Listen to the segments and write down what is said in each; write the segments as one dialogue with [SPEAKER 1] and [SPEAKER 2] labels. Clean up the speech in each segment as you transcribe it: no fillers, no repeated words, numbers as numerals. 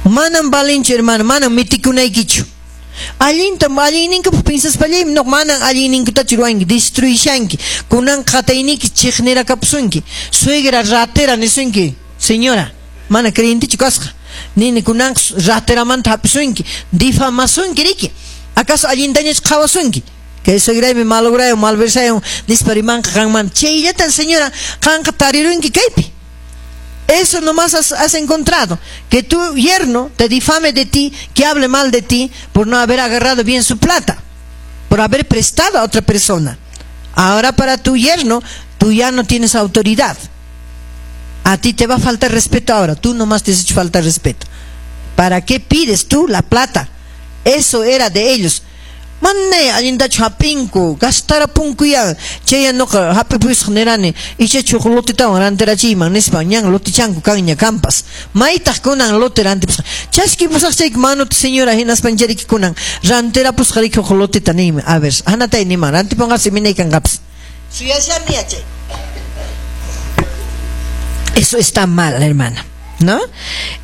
[SPEAKER 1] Manam valinchu, hermano, manam mitikunaykichu. Allintam allinninkupaq pinsaspallaymi no manan allinninkutachu ruwanki, destruishanki. Kunan qatayniki chiqnirakapusunki. Suegra ratera nisunki, señora, mana creyentichu kasqa. Nini kunan rateramanta hapisunki, difamasunki riki. ¿Acaso allintañachu qhawasunki? Kay suegraymi malograyon, malversayon nispa rimanqa qanman. Chayllatan, señora, qanqa tarirunki kaypi. Eso nomás has encontrado. Que tu yerno te difame de ti, que hable mal de ti por no haber agarrado bien su plata, por haber prestado a otra persona. Ahora para tu yerno, tú ya no tienes autoridad. A ti te va a faltar respeto ahora. Tú nomás te has hecho faltar respeto. ¿Para qué pides tú la plata? Eso era de ellos. Manay allintachu hap'inku, gastarapunkuya. Chaya nuqa hap'ipusaq nirani, ichachu huk lotetawan rantirachiyman nispa, ñan lotichanku kanña kampas. Maytaq kunan lote rantipusqa. Chaskipusaq chayki manuta, señora, hinaspanchariki kunan rantirapusqa riki huk loteta niymi. A ver, hanatay niman, rantipunqasi minay kanqapas. Suyashani yachay. Eso está mal, hermana, ¿no?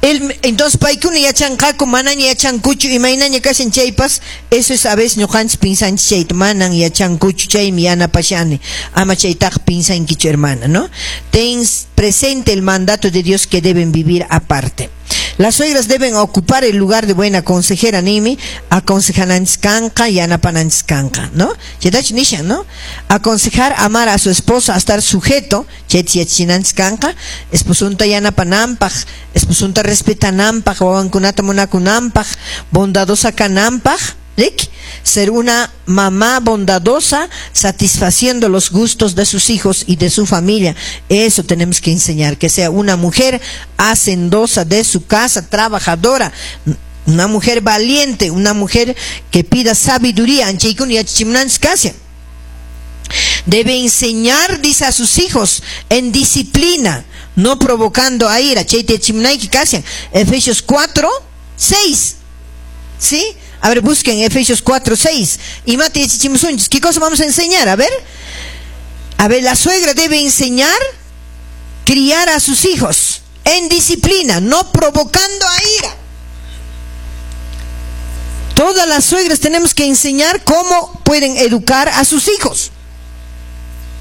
[SPEAKER 1] Entonces paykuna yachanqaku, manaña yachankuchu, imaynaña kashan chaypas, eso es a veces ñuqanchis pinsanchis chayta, manan yachankuchu, chaymi yanapashani, ama chaytaqa pinsankichu, hermana, ¿no? Ten presente el mandato de Dios que deben vivir aparte. Las suegras deben ocupar el lugar de buena consejera, nimi, aconsejananchis kanqa, yanapananchis kanqa, ¿no? Chaytachu nishan, ¿no? Aconsejar, amar a su esposo, a estar sujeto, chayta yachachinanchis kanqa, esposunta yanapananpaq, esposunta respetananpaq, wawankunata munakunanpaq, bondadosa kananpaq, ¿rik? Ser una mamá bondadosa, satisfaciendo los gustos de sus hijos y de su familia. Eso tenemos que enseñar, que sea una mujer hacendosa de su casa, trabajadora, una mujer valiente, una mujer que pida sabiduría. Debe enseñar, dice, a sus hijos en disciplina, no provocando a ira. Efesios 4, 6. ¿Sí? A ver, busquen Efesios 4, 6. Y mate, ¿qué cosa vamos a enseñar? A ver. A ver, la suegra debe enseñar, criar a sus hijos en disciplina, no provocando a ira. Todas las suegras tenemos que enseñar cómo pueden educar a sus hijos.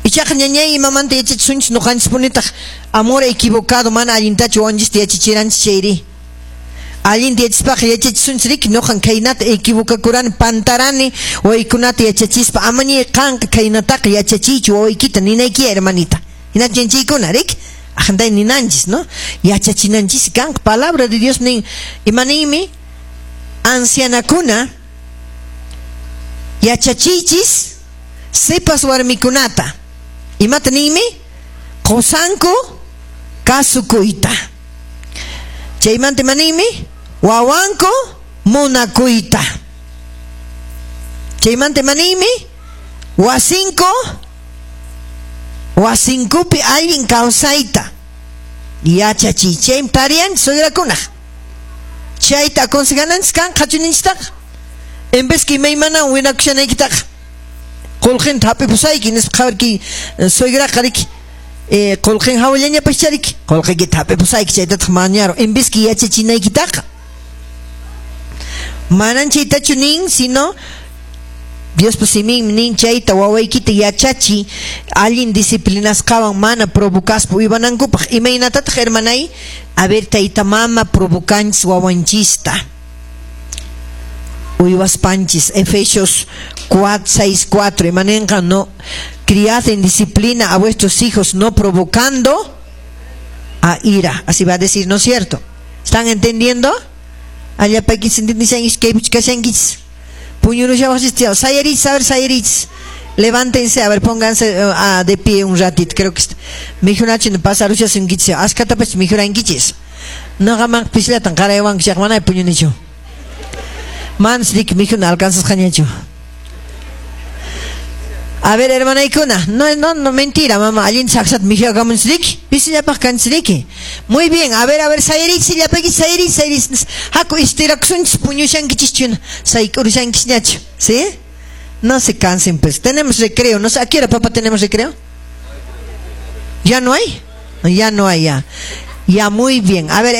[SPEAKER 1] Ichaqa ñañay imamanta yachachisunchis ñuqanchis punitaq amor equivocado mana allintachu wawanchista yachachiranchis chayri. Allinta yachaspaqa yachachisunchis riki ñuqan khaynata equivocakurani pantarani wawaykunata yachachispa amañay qanqa khaynataqa yachachiychu wawaykita ninayki hermanita. Hinachu yanchaykuna riki aqntay ninanchis, ¿no? Yachachinanchis kanqa palabra de Dios nin imaninmi ancianakuna yachachiychis sipas warmikunata. Imata ninmi qosanku kasukuyta. Chaymanta imaninmi wawanku munakuyta. Chaymanta imaninmi wasinku wasinkupi allin kawsayta yachachiy. Chaymi tariyanchis suegrakunaq. Chayta aconsejananchis kan qhachuninchistaqa. En vez que imaymanawan winakushanaykitaqa qullqinta hap'ipusayki nispa qhawarki suegraqa riki qullqin hawallañapas chariki qullqiykita hap'ipusayki chaytataq mañaru en vez que yachachinaykitaqa. Manan chaytachu nin, sino Diospa siminmi nin chayta wawaykita yachachi allin disciplinasqawan mana provocaspa uywanankupaq. Imaynatataq hermanay? A ver, tayta mama provocanchis wawanchista uywaspanchis. Efesios 4, 6, 4. Imanenqa no criad en disciplina a vuestros hijos, no provocando a ira. Así va a decir, ¿no es cierto? ¿Están entendiendo? Allá paquis entendishan kaypichkashankichis. Puñurushawasistia. Sayarich, a ver, sayarich. Levántense, a ver, pónganse de pie un ratito. Creo que mijunachi pasarushasunkichis. Askatapach mijurankichis. Noqaman pisllatan qaraywankichaq manay puñunichu. Manas riki mijuna alcanzasqañachu. A ver, hermanaykuna, no, no, no, mentira, mamá, allinta saksata mijuyakamunchis riki, pisillapaq kanchis riki. Muy bien, a ver, sayarich, llapaykichis, sayarich, sayarich. Haku istirakusunchis, puñushankichischuna, sayk'urushankisñachu, ¿sí? No se cansen, pues. Tenemos recreo, no sé, ¿a qué hora, papá, tenemos recreo? ¿Ya no hay? Ya no hay, ya. Ya, muy bien. A ver,